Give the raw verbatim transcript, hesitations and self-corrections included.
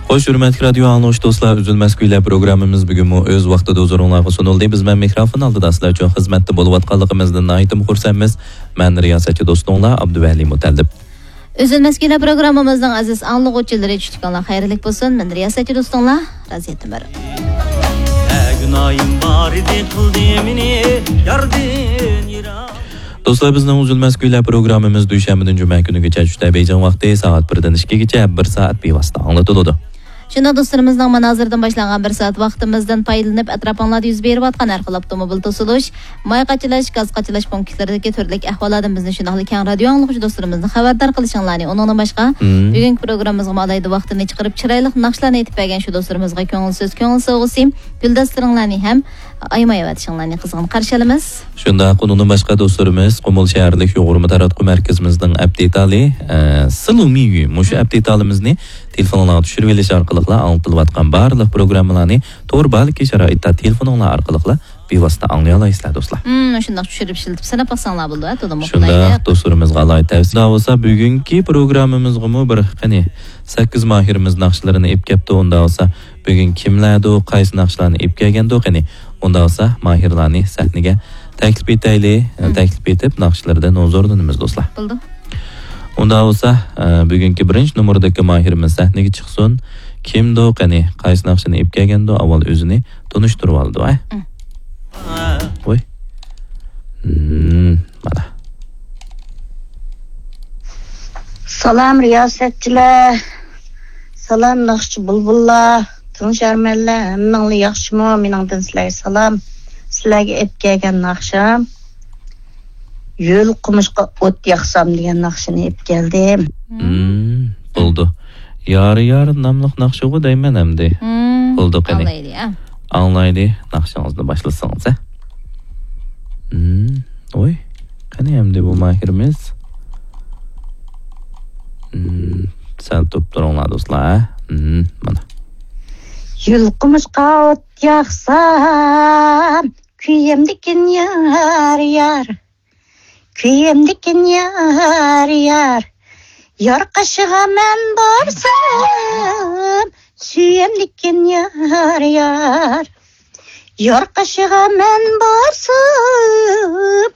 خوش، ھۆرمەتلىك رادىيو ئاڭلىغۇچى دوستلار، ئۈزۈلمەس كۈيلەر پروگراممىمىز بۈگۈنمۇ ئۆز ۋاقتىدا ھۇزۇرۇڭلارغا سۇنۇلدى. بىز مەن مىكروفون ئالدىدا سىلەر ئۈچۈن خىزمەتتە بولۇۋاتقانلىقىمىزدىن ناھايىتىمۇ خۇرسەنمىز. مەن رىياسەتچى دوستۇڭلار ئابدۇۋەلى مۇتەللىپ. ئۈزۈلمەس كۈيلەر پروگراممىمىزنىڭ ئەزىز ئاڭلىغۇچىلىرى، چۈشلۈكۈڭلار خەيرلىك بولسۇن. مەن رىياسەتچى دوستۇڭلار رازىيەت ئۆمەر. نە گۇناھىم بار ئىدى، قىلدى مېنى ياردىن يىراق. دوستلار، بىزنىڭ ئۈزۈلمەس كۈيلەر پروگراممىمىز دۈشەنبىدىن جۈمە كۈنىگىچە چۈشتە بېيجىڭ ۋاقتى سائەت بىردىن ئىككىگىچە بىر سائەت بىۋاسىتە ئاڭلىتىلىدۇ. شۇنداق دوستلىرىمىزنىڭ مانا ھازىردىن باشلانغان بىر سائەت ۋاقتىمىزدىن پايدىلىنىپ، ئەتراپىڭلاردا يۈز بېرىۋاتقان ھەر خىل ئاپتوموبىل توسۇلۇش، ماي قاچىلاش، گاز قاچىلاش پونكىتلىرىدىكى تۈرلۈك ئەھۋاللاردىن بىزنى شۇنداقلا كەڭ رادىيو ئاڭلىغۇچى دوستلىرىمىزنى خەۋەردار قىلىشىڭلارنى، ئۇنىڭدىن باشقا، مم. بۈگۈنكى پروگراممىمىزغىمۇ ئالاھىدە ۋاقتىنى چىقىرىپ، چىرايلىق ناخشىلارنى ئېيتىپ بەرگەن شۇ دوستلىرىمىزغا كۆڭۈل سۆز، كۆڭۈل سوۋغىسى، گۈلدەستىلىرىڭلارنى ھەم ئايىماي ئەۋەتىشىڭلارنى قىزغىن قارشى ئالىمىز. شۇنداق، ئۇنىڭدىن باشقا دوستلىرىمىز، قۇمۇل شەھەرلىك يۇغۇرما تاراتقۇ مەركىزىمىزنىڭ ئەپ دېتالى، ئە، سىلۇمىيۈ، مۇشۇ ئەپ دېتالىمىزنى تېلېفونلارغا چۈشۈرۈۋېلىش ئارقىلىقلا ئاڭلىتىلىۋاتقان بارلىق پروگراممىلارنى تور بالىكى شارائىتتا تېلېفونۇڭلار ئارقىلىقلا بىۋاسىتە ئاڭلىيالايسىلەر، دوستلار. مم، شۇنداق چۈشۈرۈپ ئىشلىتىپ سىناپ باقساڭلار بولىدۇ، ھە، تولىمۇ شۇنداق، قولايلىق. دوستلىرىمىزغا ئالاھىدە تەۋسىيە. ئۇندا بولسا، بۈگۈنكى پروگراممىمىزغىمۇ بىر، قېنى، سەككىز ماھىرىمىز ناخشىلىرىنى ئېلىپ كەپتۇ. ئۇندا بولسا، بۈگۈن كىملەردۇ، قايسى ناخشىلارنى ئېلىپ كەلگەندۇ، قېنى؟ ئۇندا بولسا، ماھىرلارنى سەھنىگە تەكلىپ ئېتەيلى. مم. تەكلىپ ئېتىپ، ناخشىلىرىدىن ھۇزۇرلىنىمىز، دوستلار. بولدى. ئۇندا بولسا، ئە، بۈگۈنكى بىرىنچى نومۇردىكى ماھىرىمىز سەھنىگە چىقسۇن. كىمدۇ، قېنى، قايسى ناخشىنى ئېلىپ كەلگەندۇ، ئاۋۋال ئۆزىنى تونۇشتۇرۇۋالىدۇ، ھە؟ مم. ۋوي. مم، مانا. سالام، رىياسەتچىلەر. سالام، ناخشىچى بۇلبۇللار. تىڭشارمەنلەر، ھەممىڭلار ياخشىمۇ؟ مېنىڭدىن سىلەرگە سالام. سىلەرگە ئېلىپ كەلگەن ناخشام يۆل قومۇشقا ئوت ياقسام دېگەن ناخشىنى ئېلىپ كەلدىم. مم، بولدى. يار يار ناملىق ناخشىغۇ دەيمەن ئەمدى. مم، بولدى، قېنى. ئاڭلايلى، ھە. ئاڭلايلى، ناخشىڭىزنى باشلىسىڭىز، ھە. مم، ۋوي، قېنى ئەمدى بۇ ماھىرىمىز. مم، سەل تۇرۇپ تۇرۇڭلار، دوستلار، ھە. مم، مانا. يۆل قومۇشقا ئوت ياقسام، كۆيەمدىكىن يار، يار. كۆيەمدىكىن يار، يار. يار قېشىغا مەن بارسام، سۆيەمدىكىن يار، يار. يار قېشىغا مەن بارسام،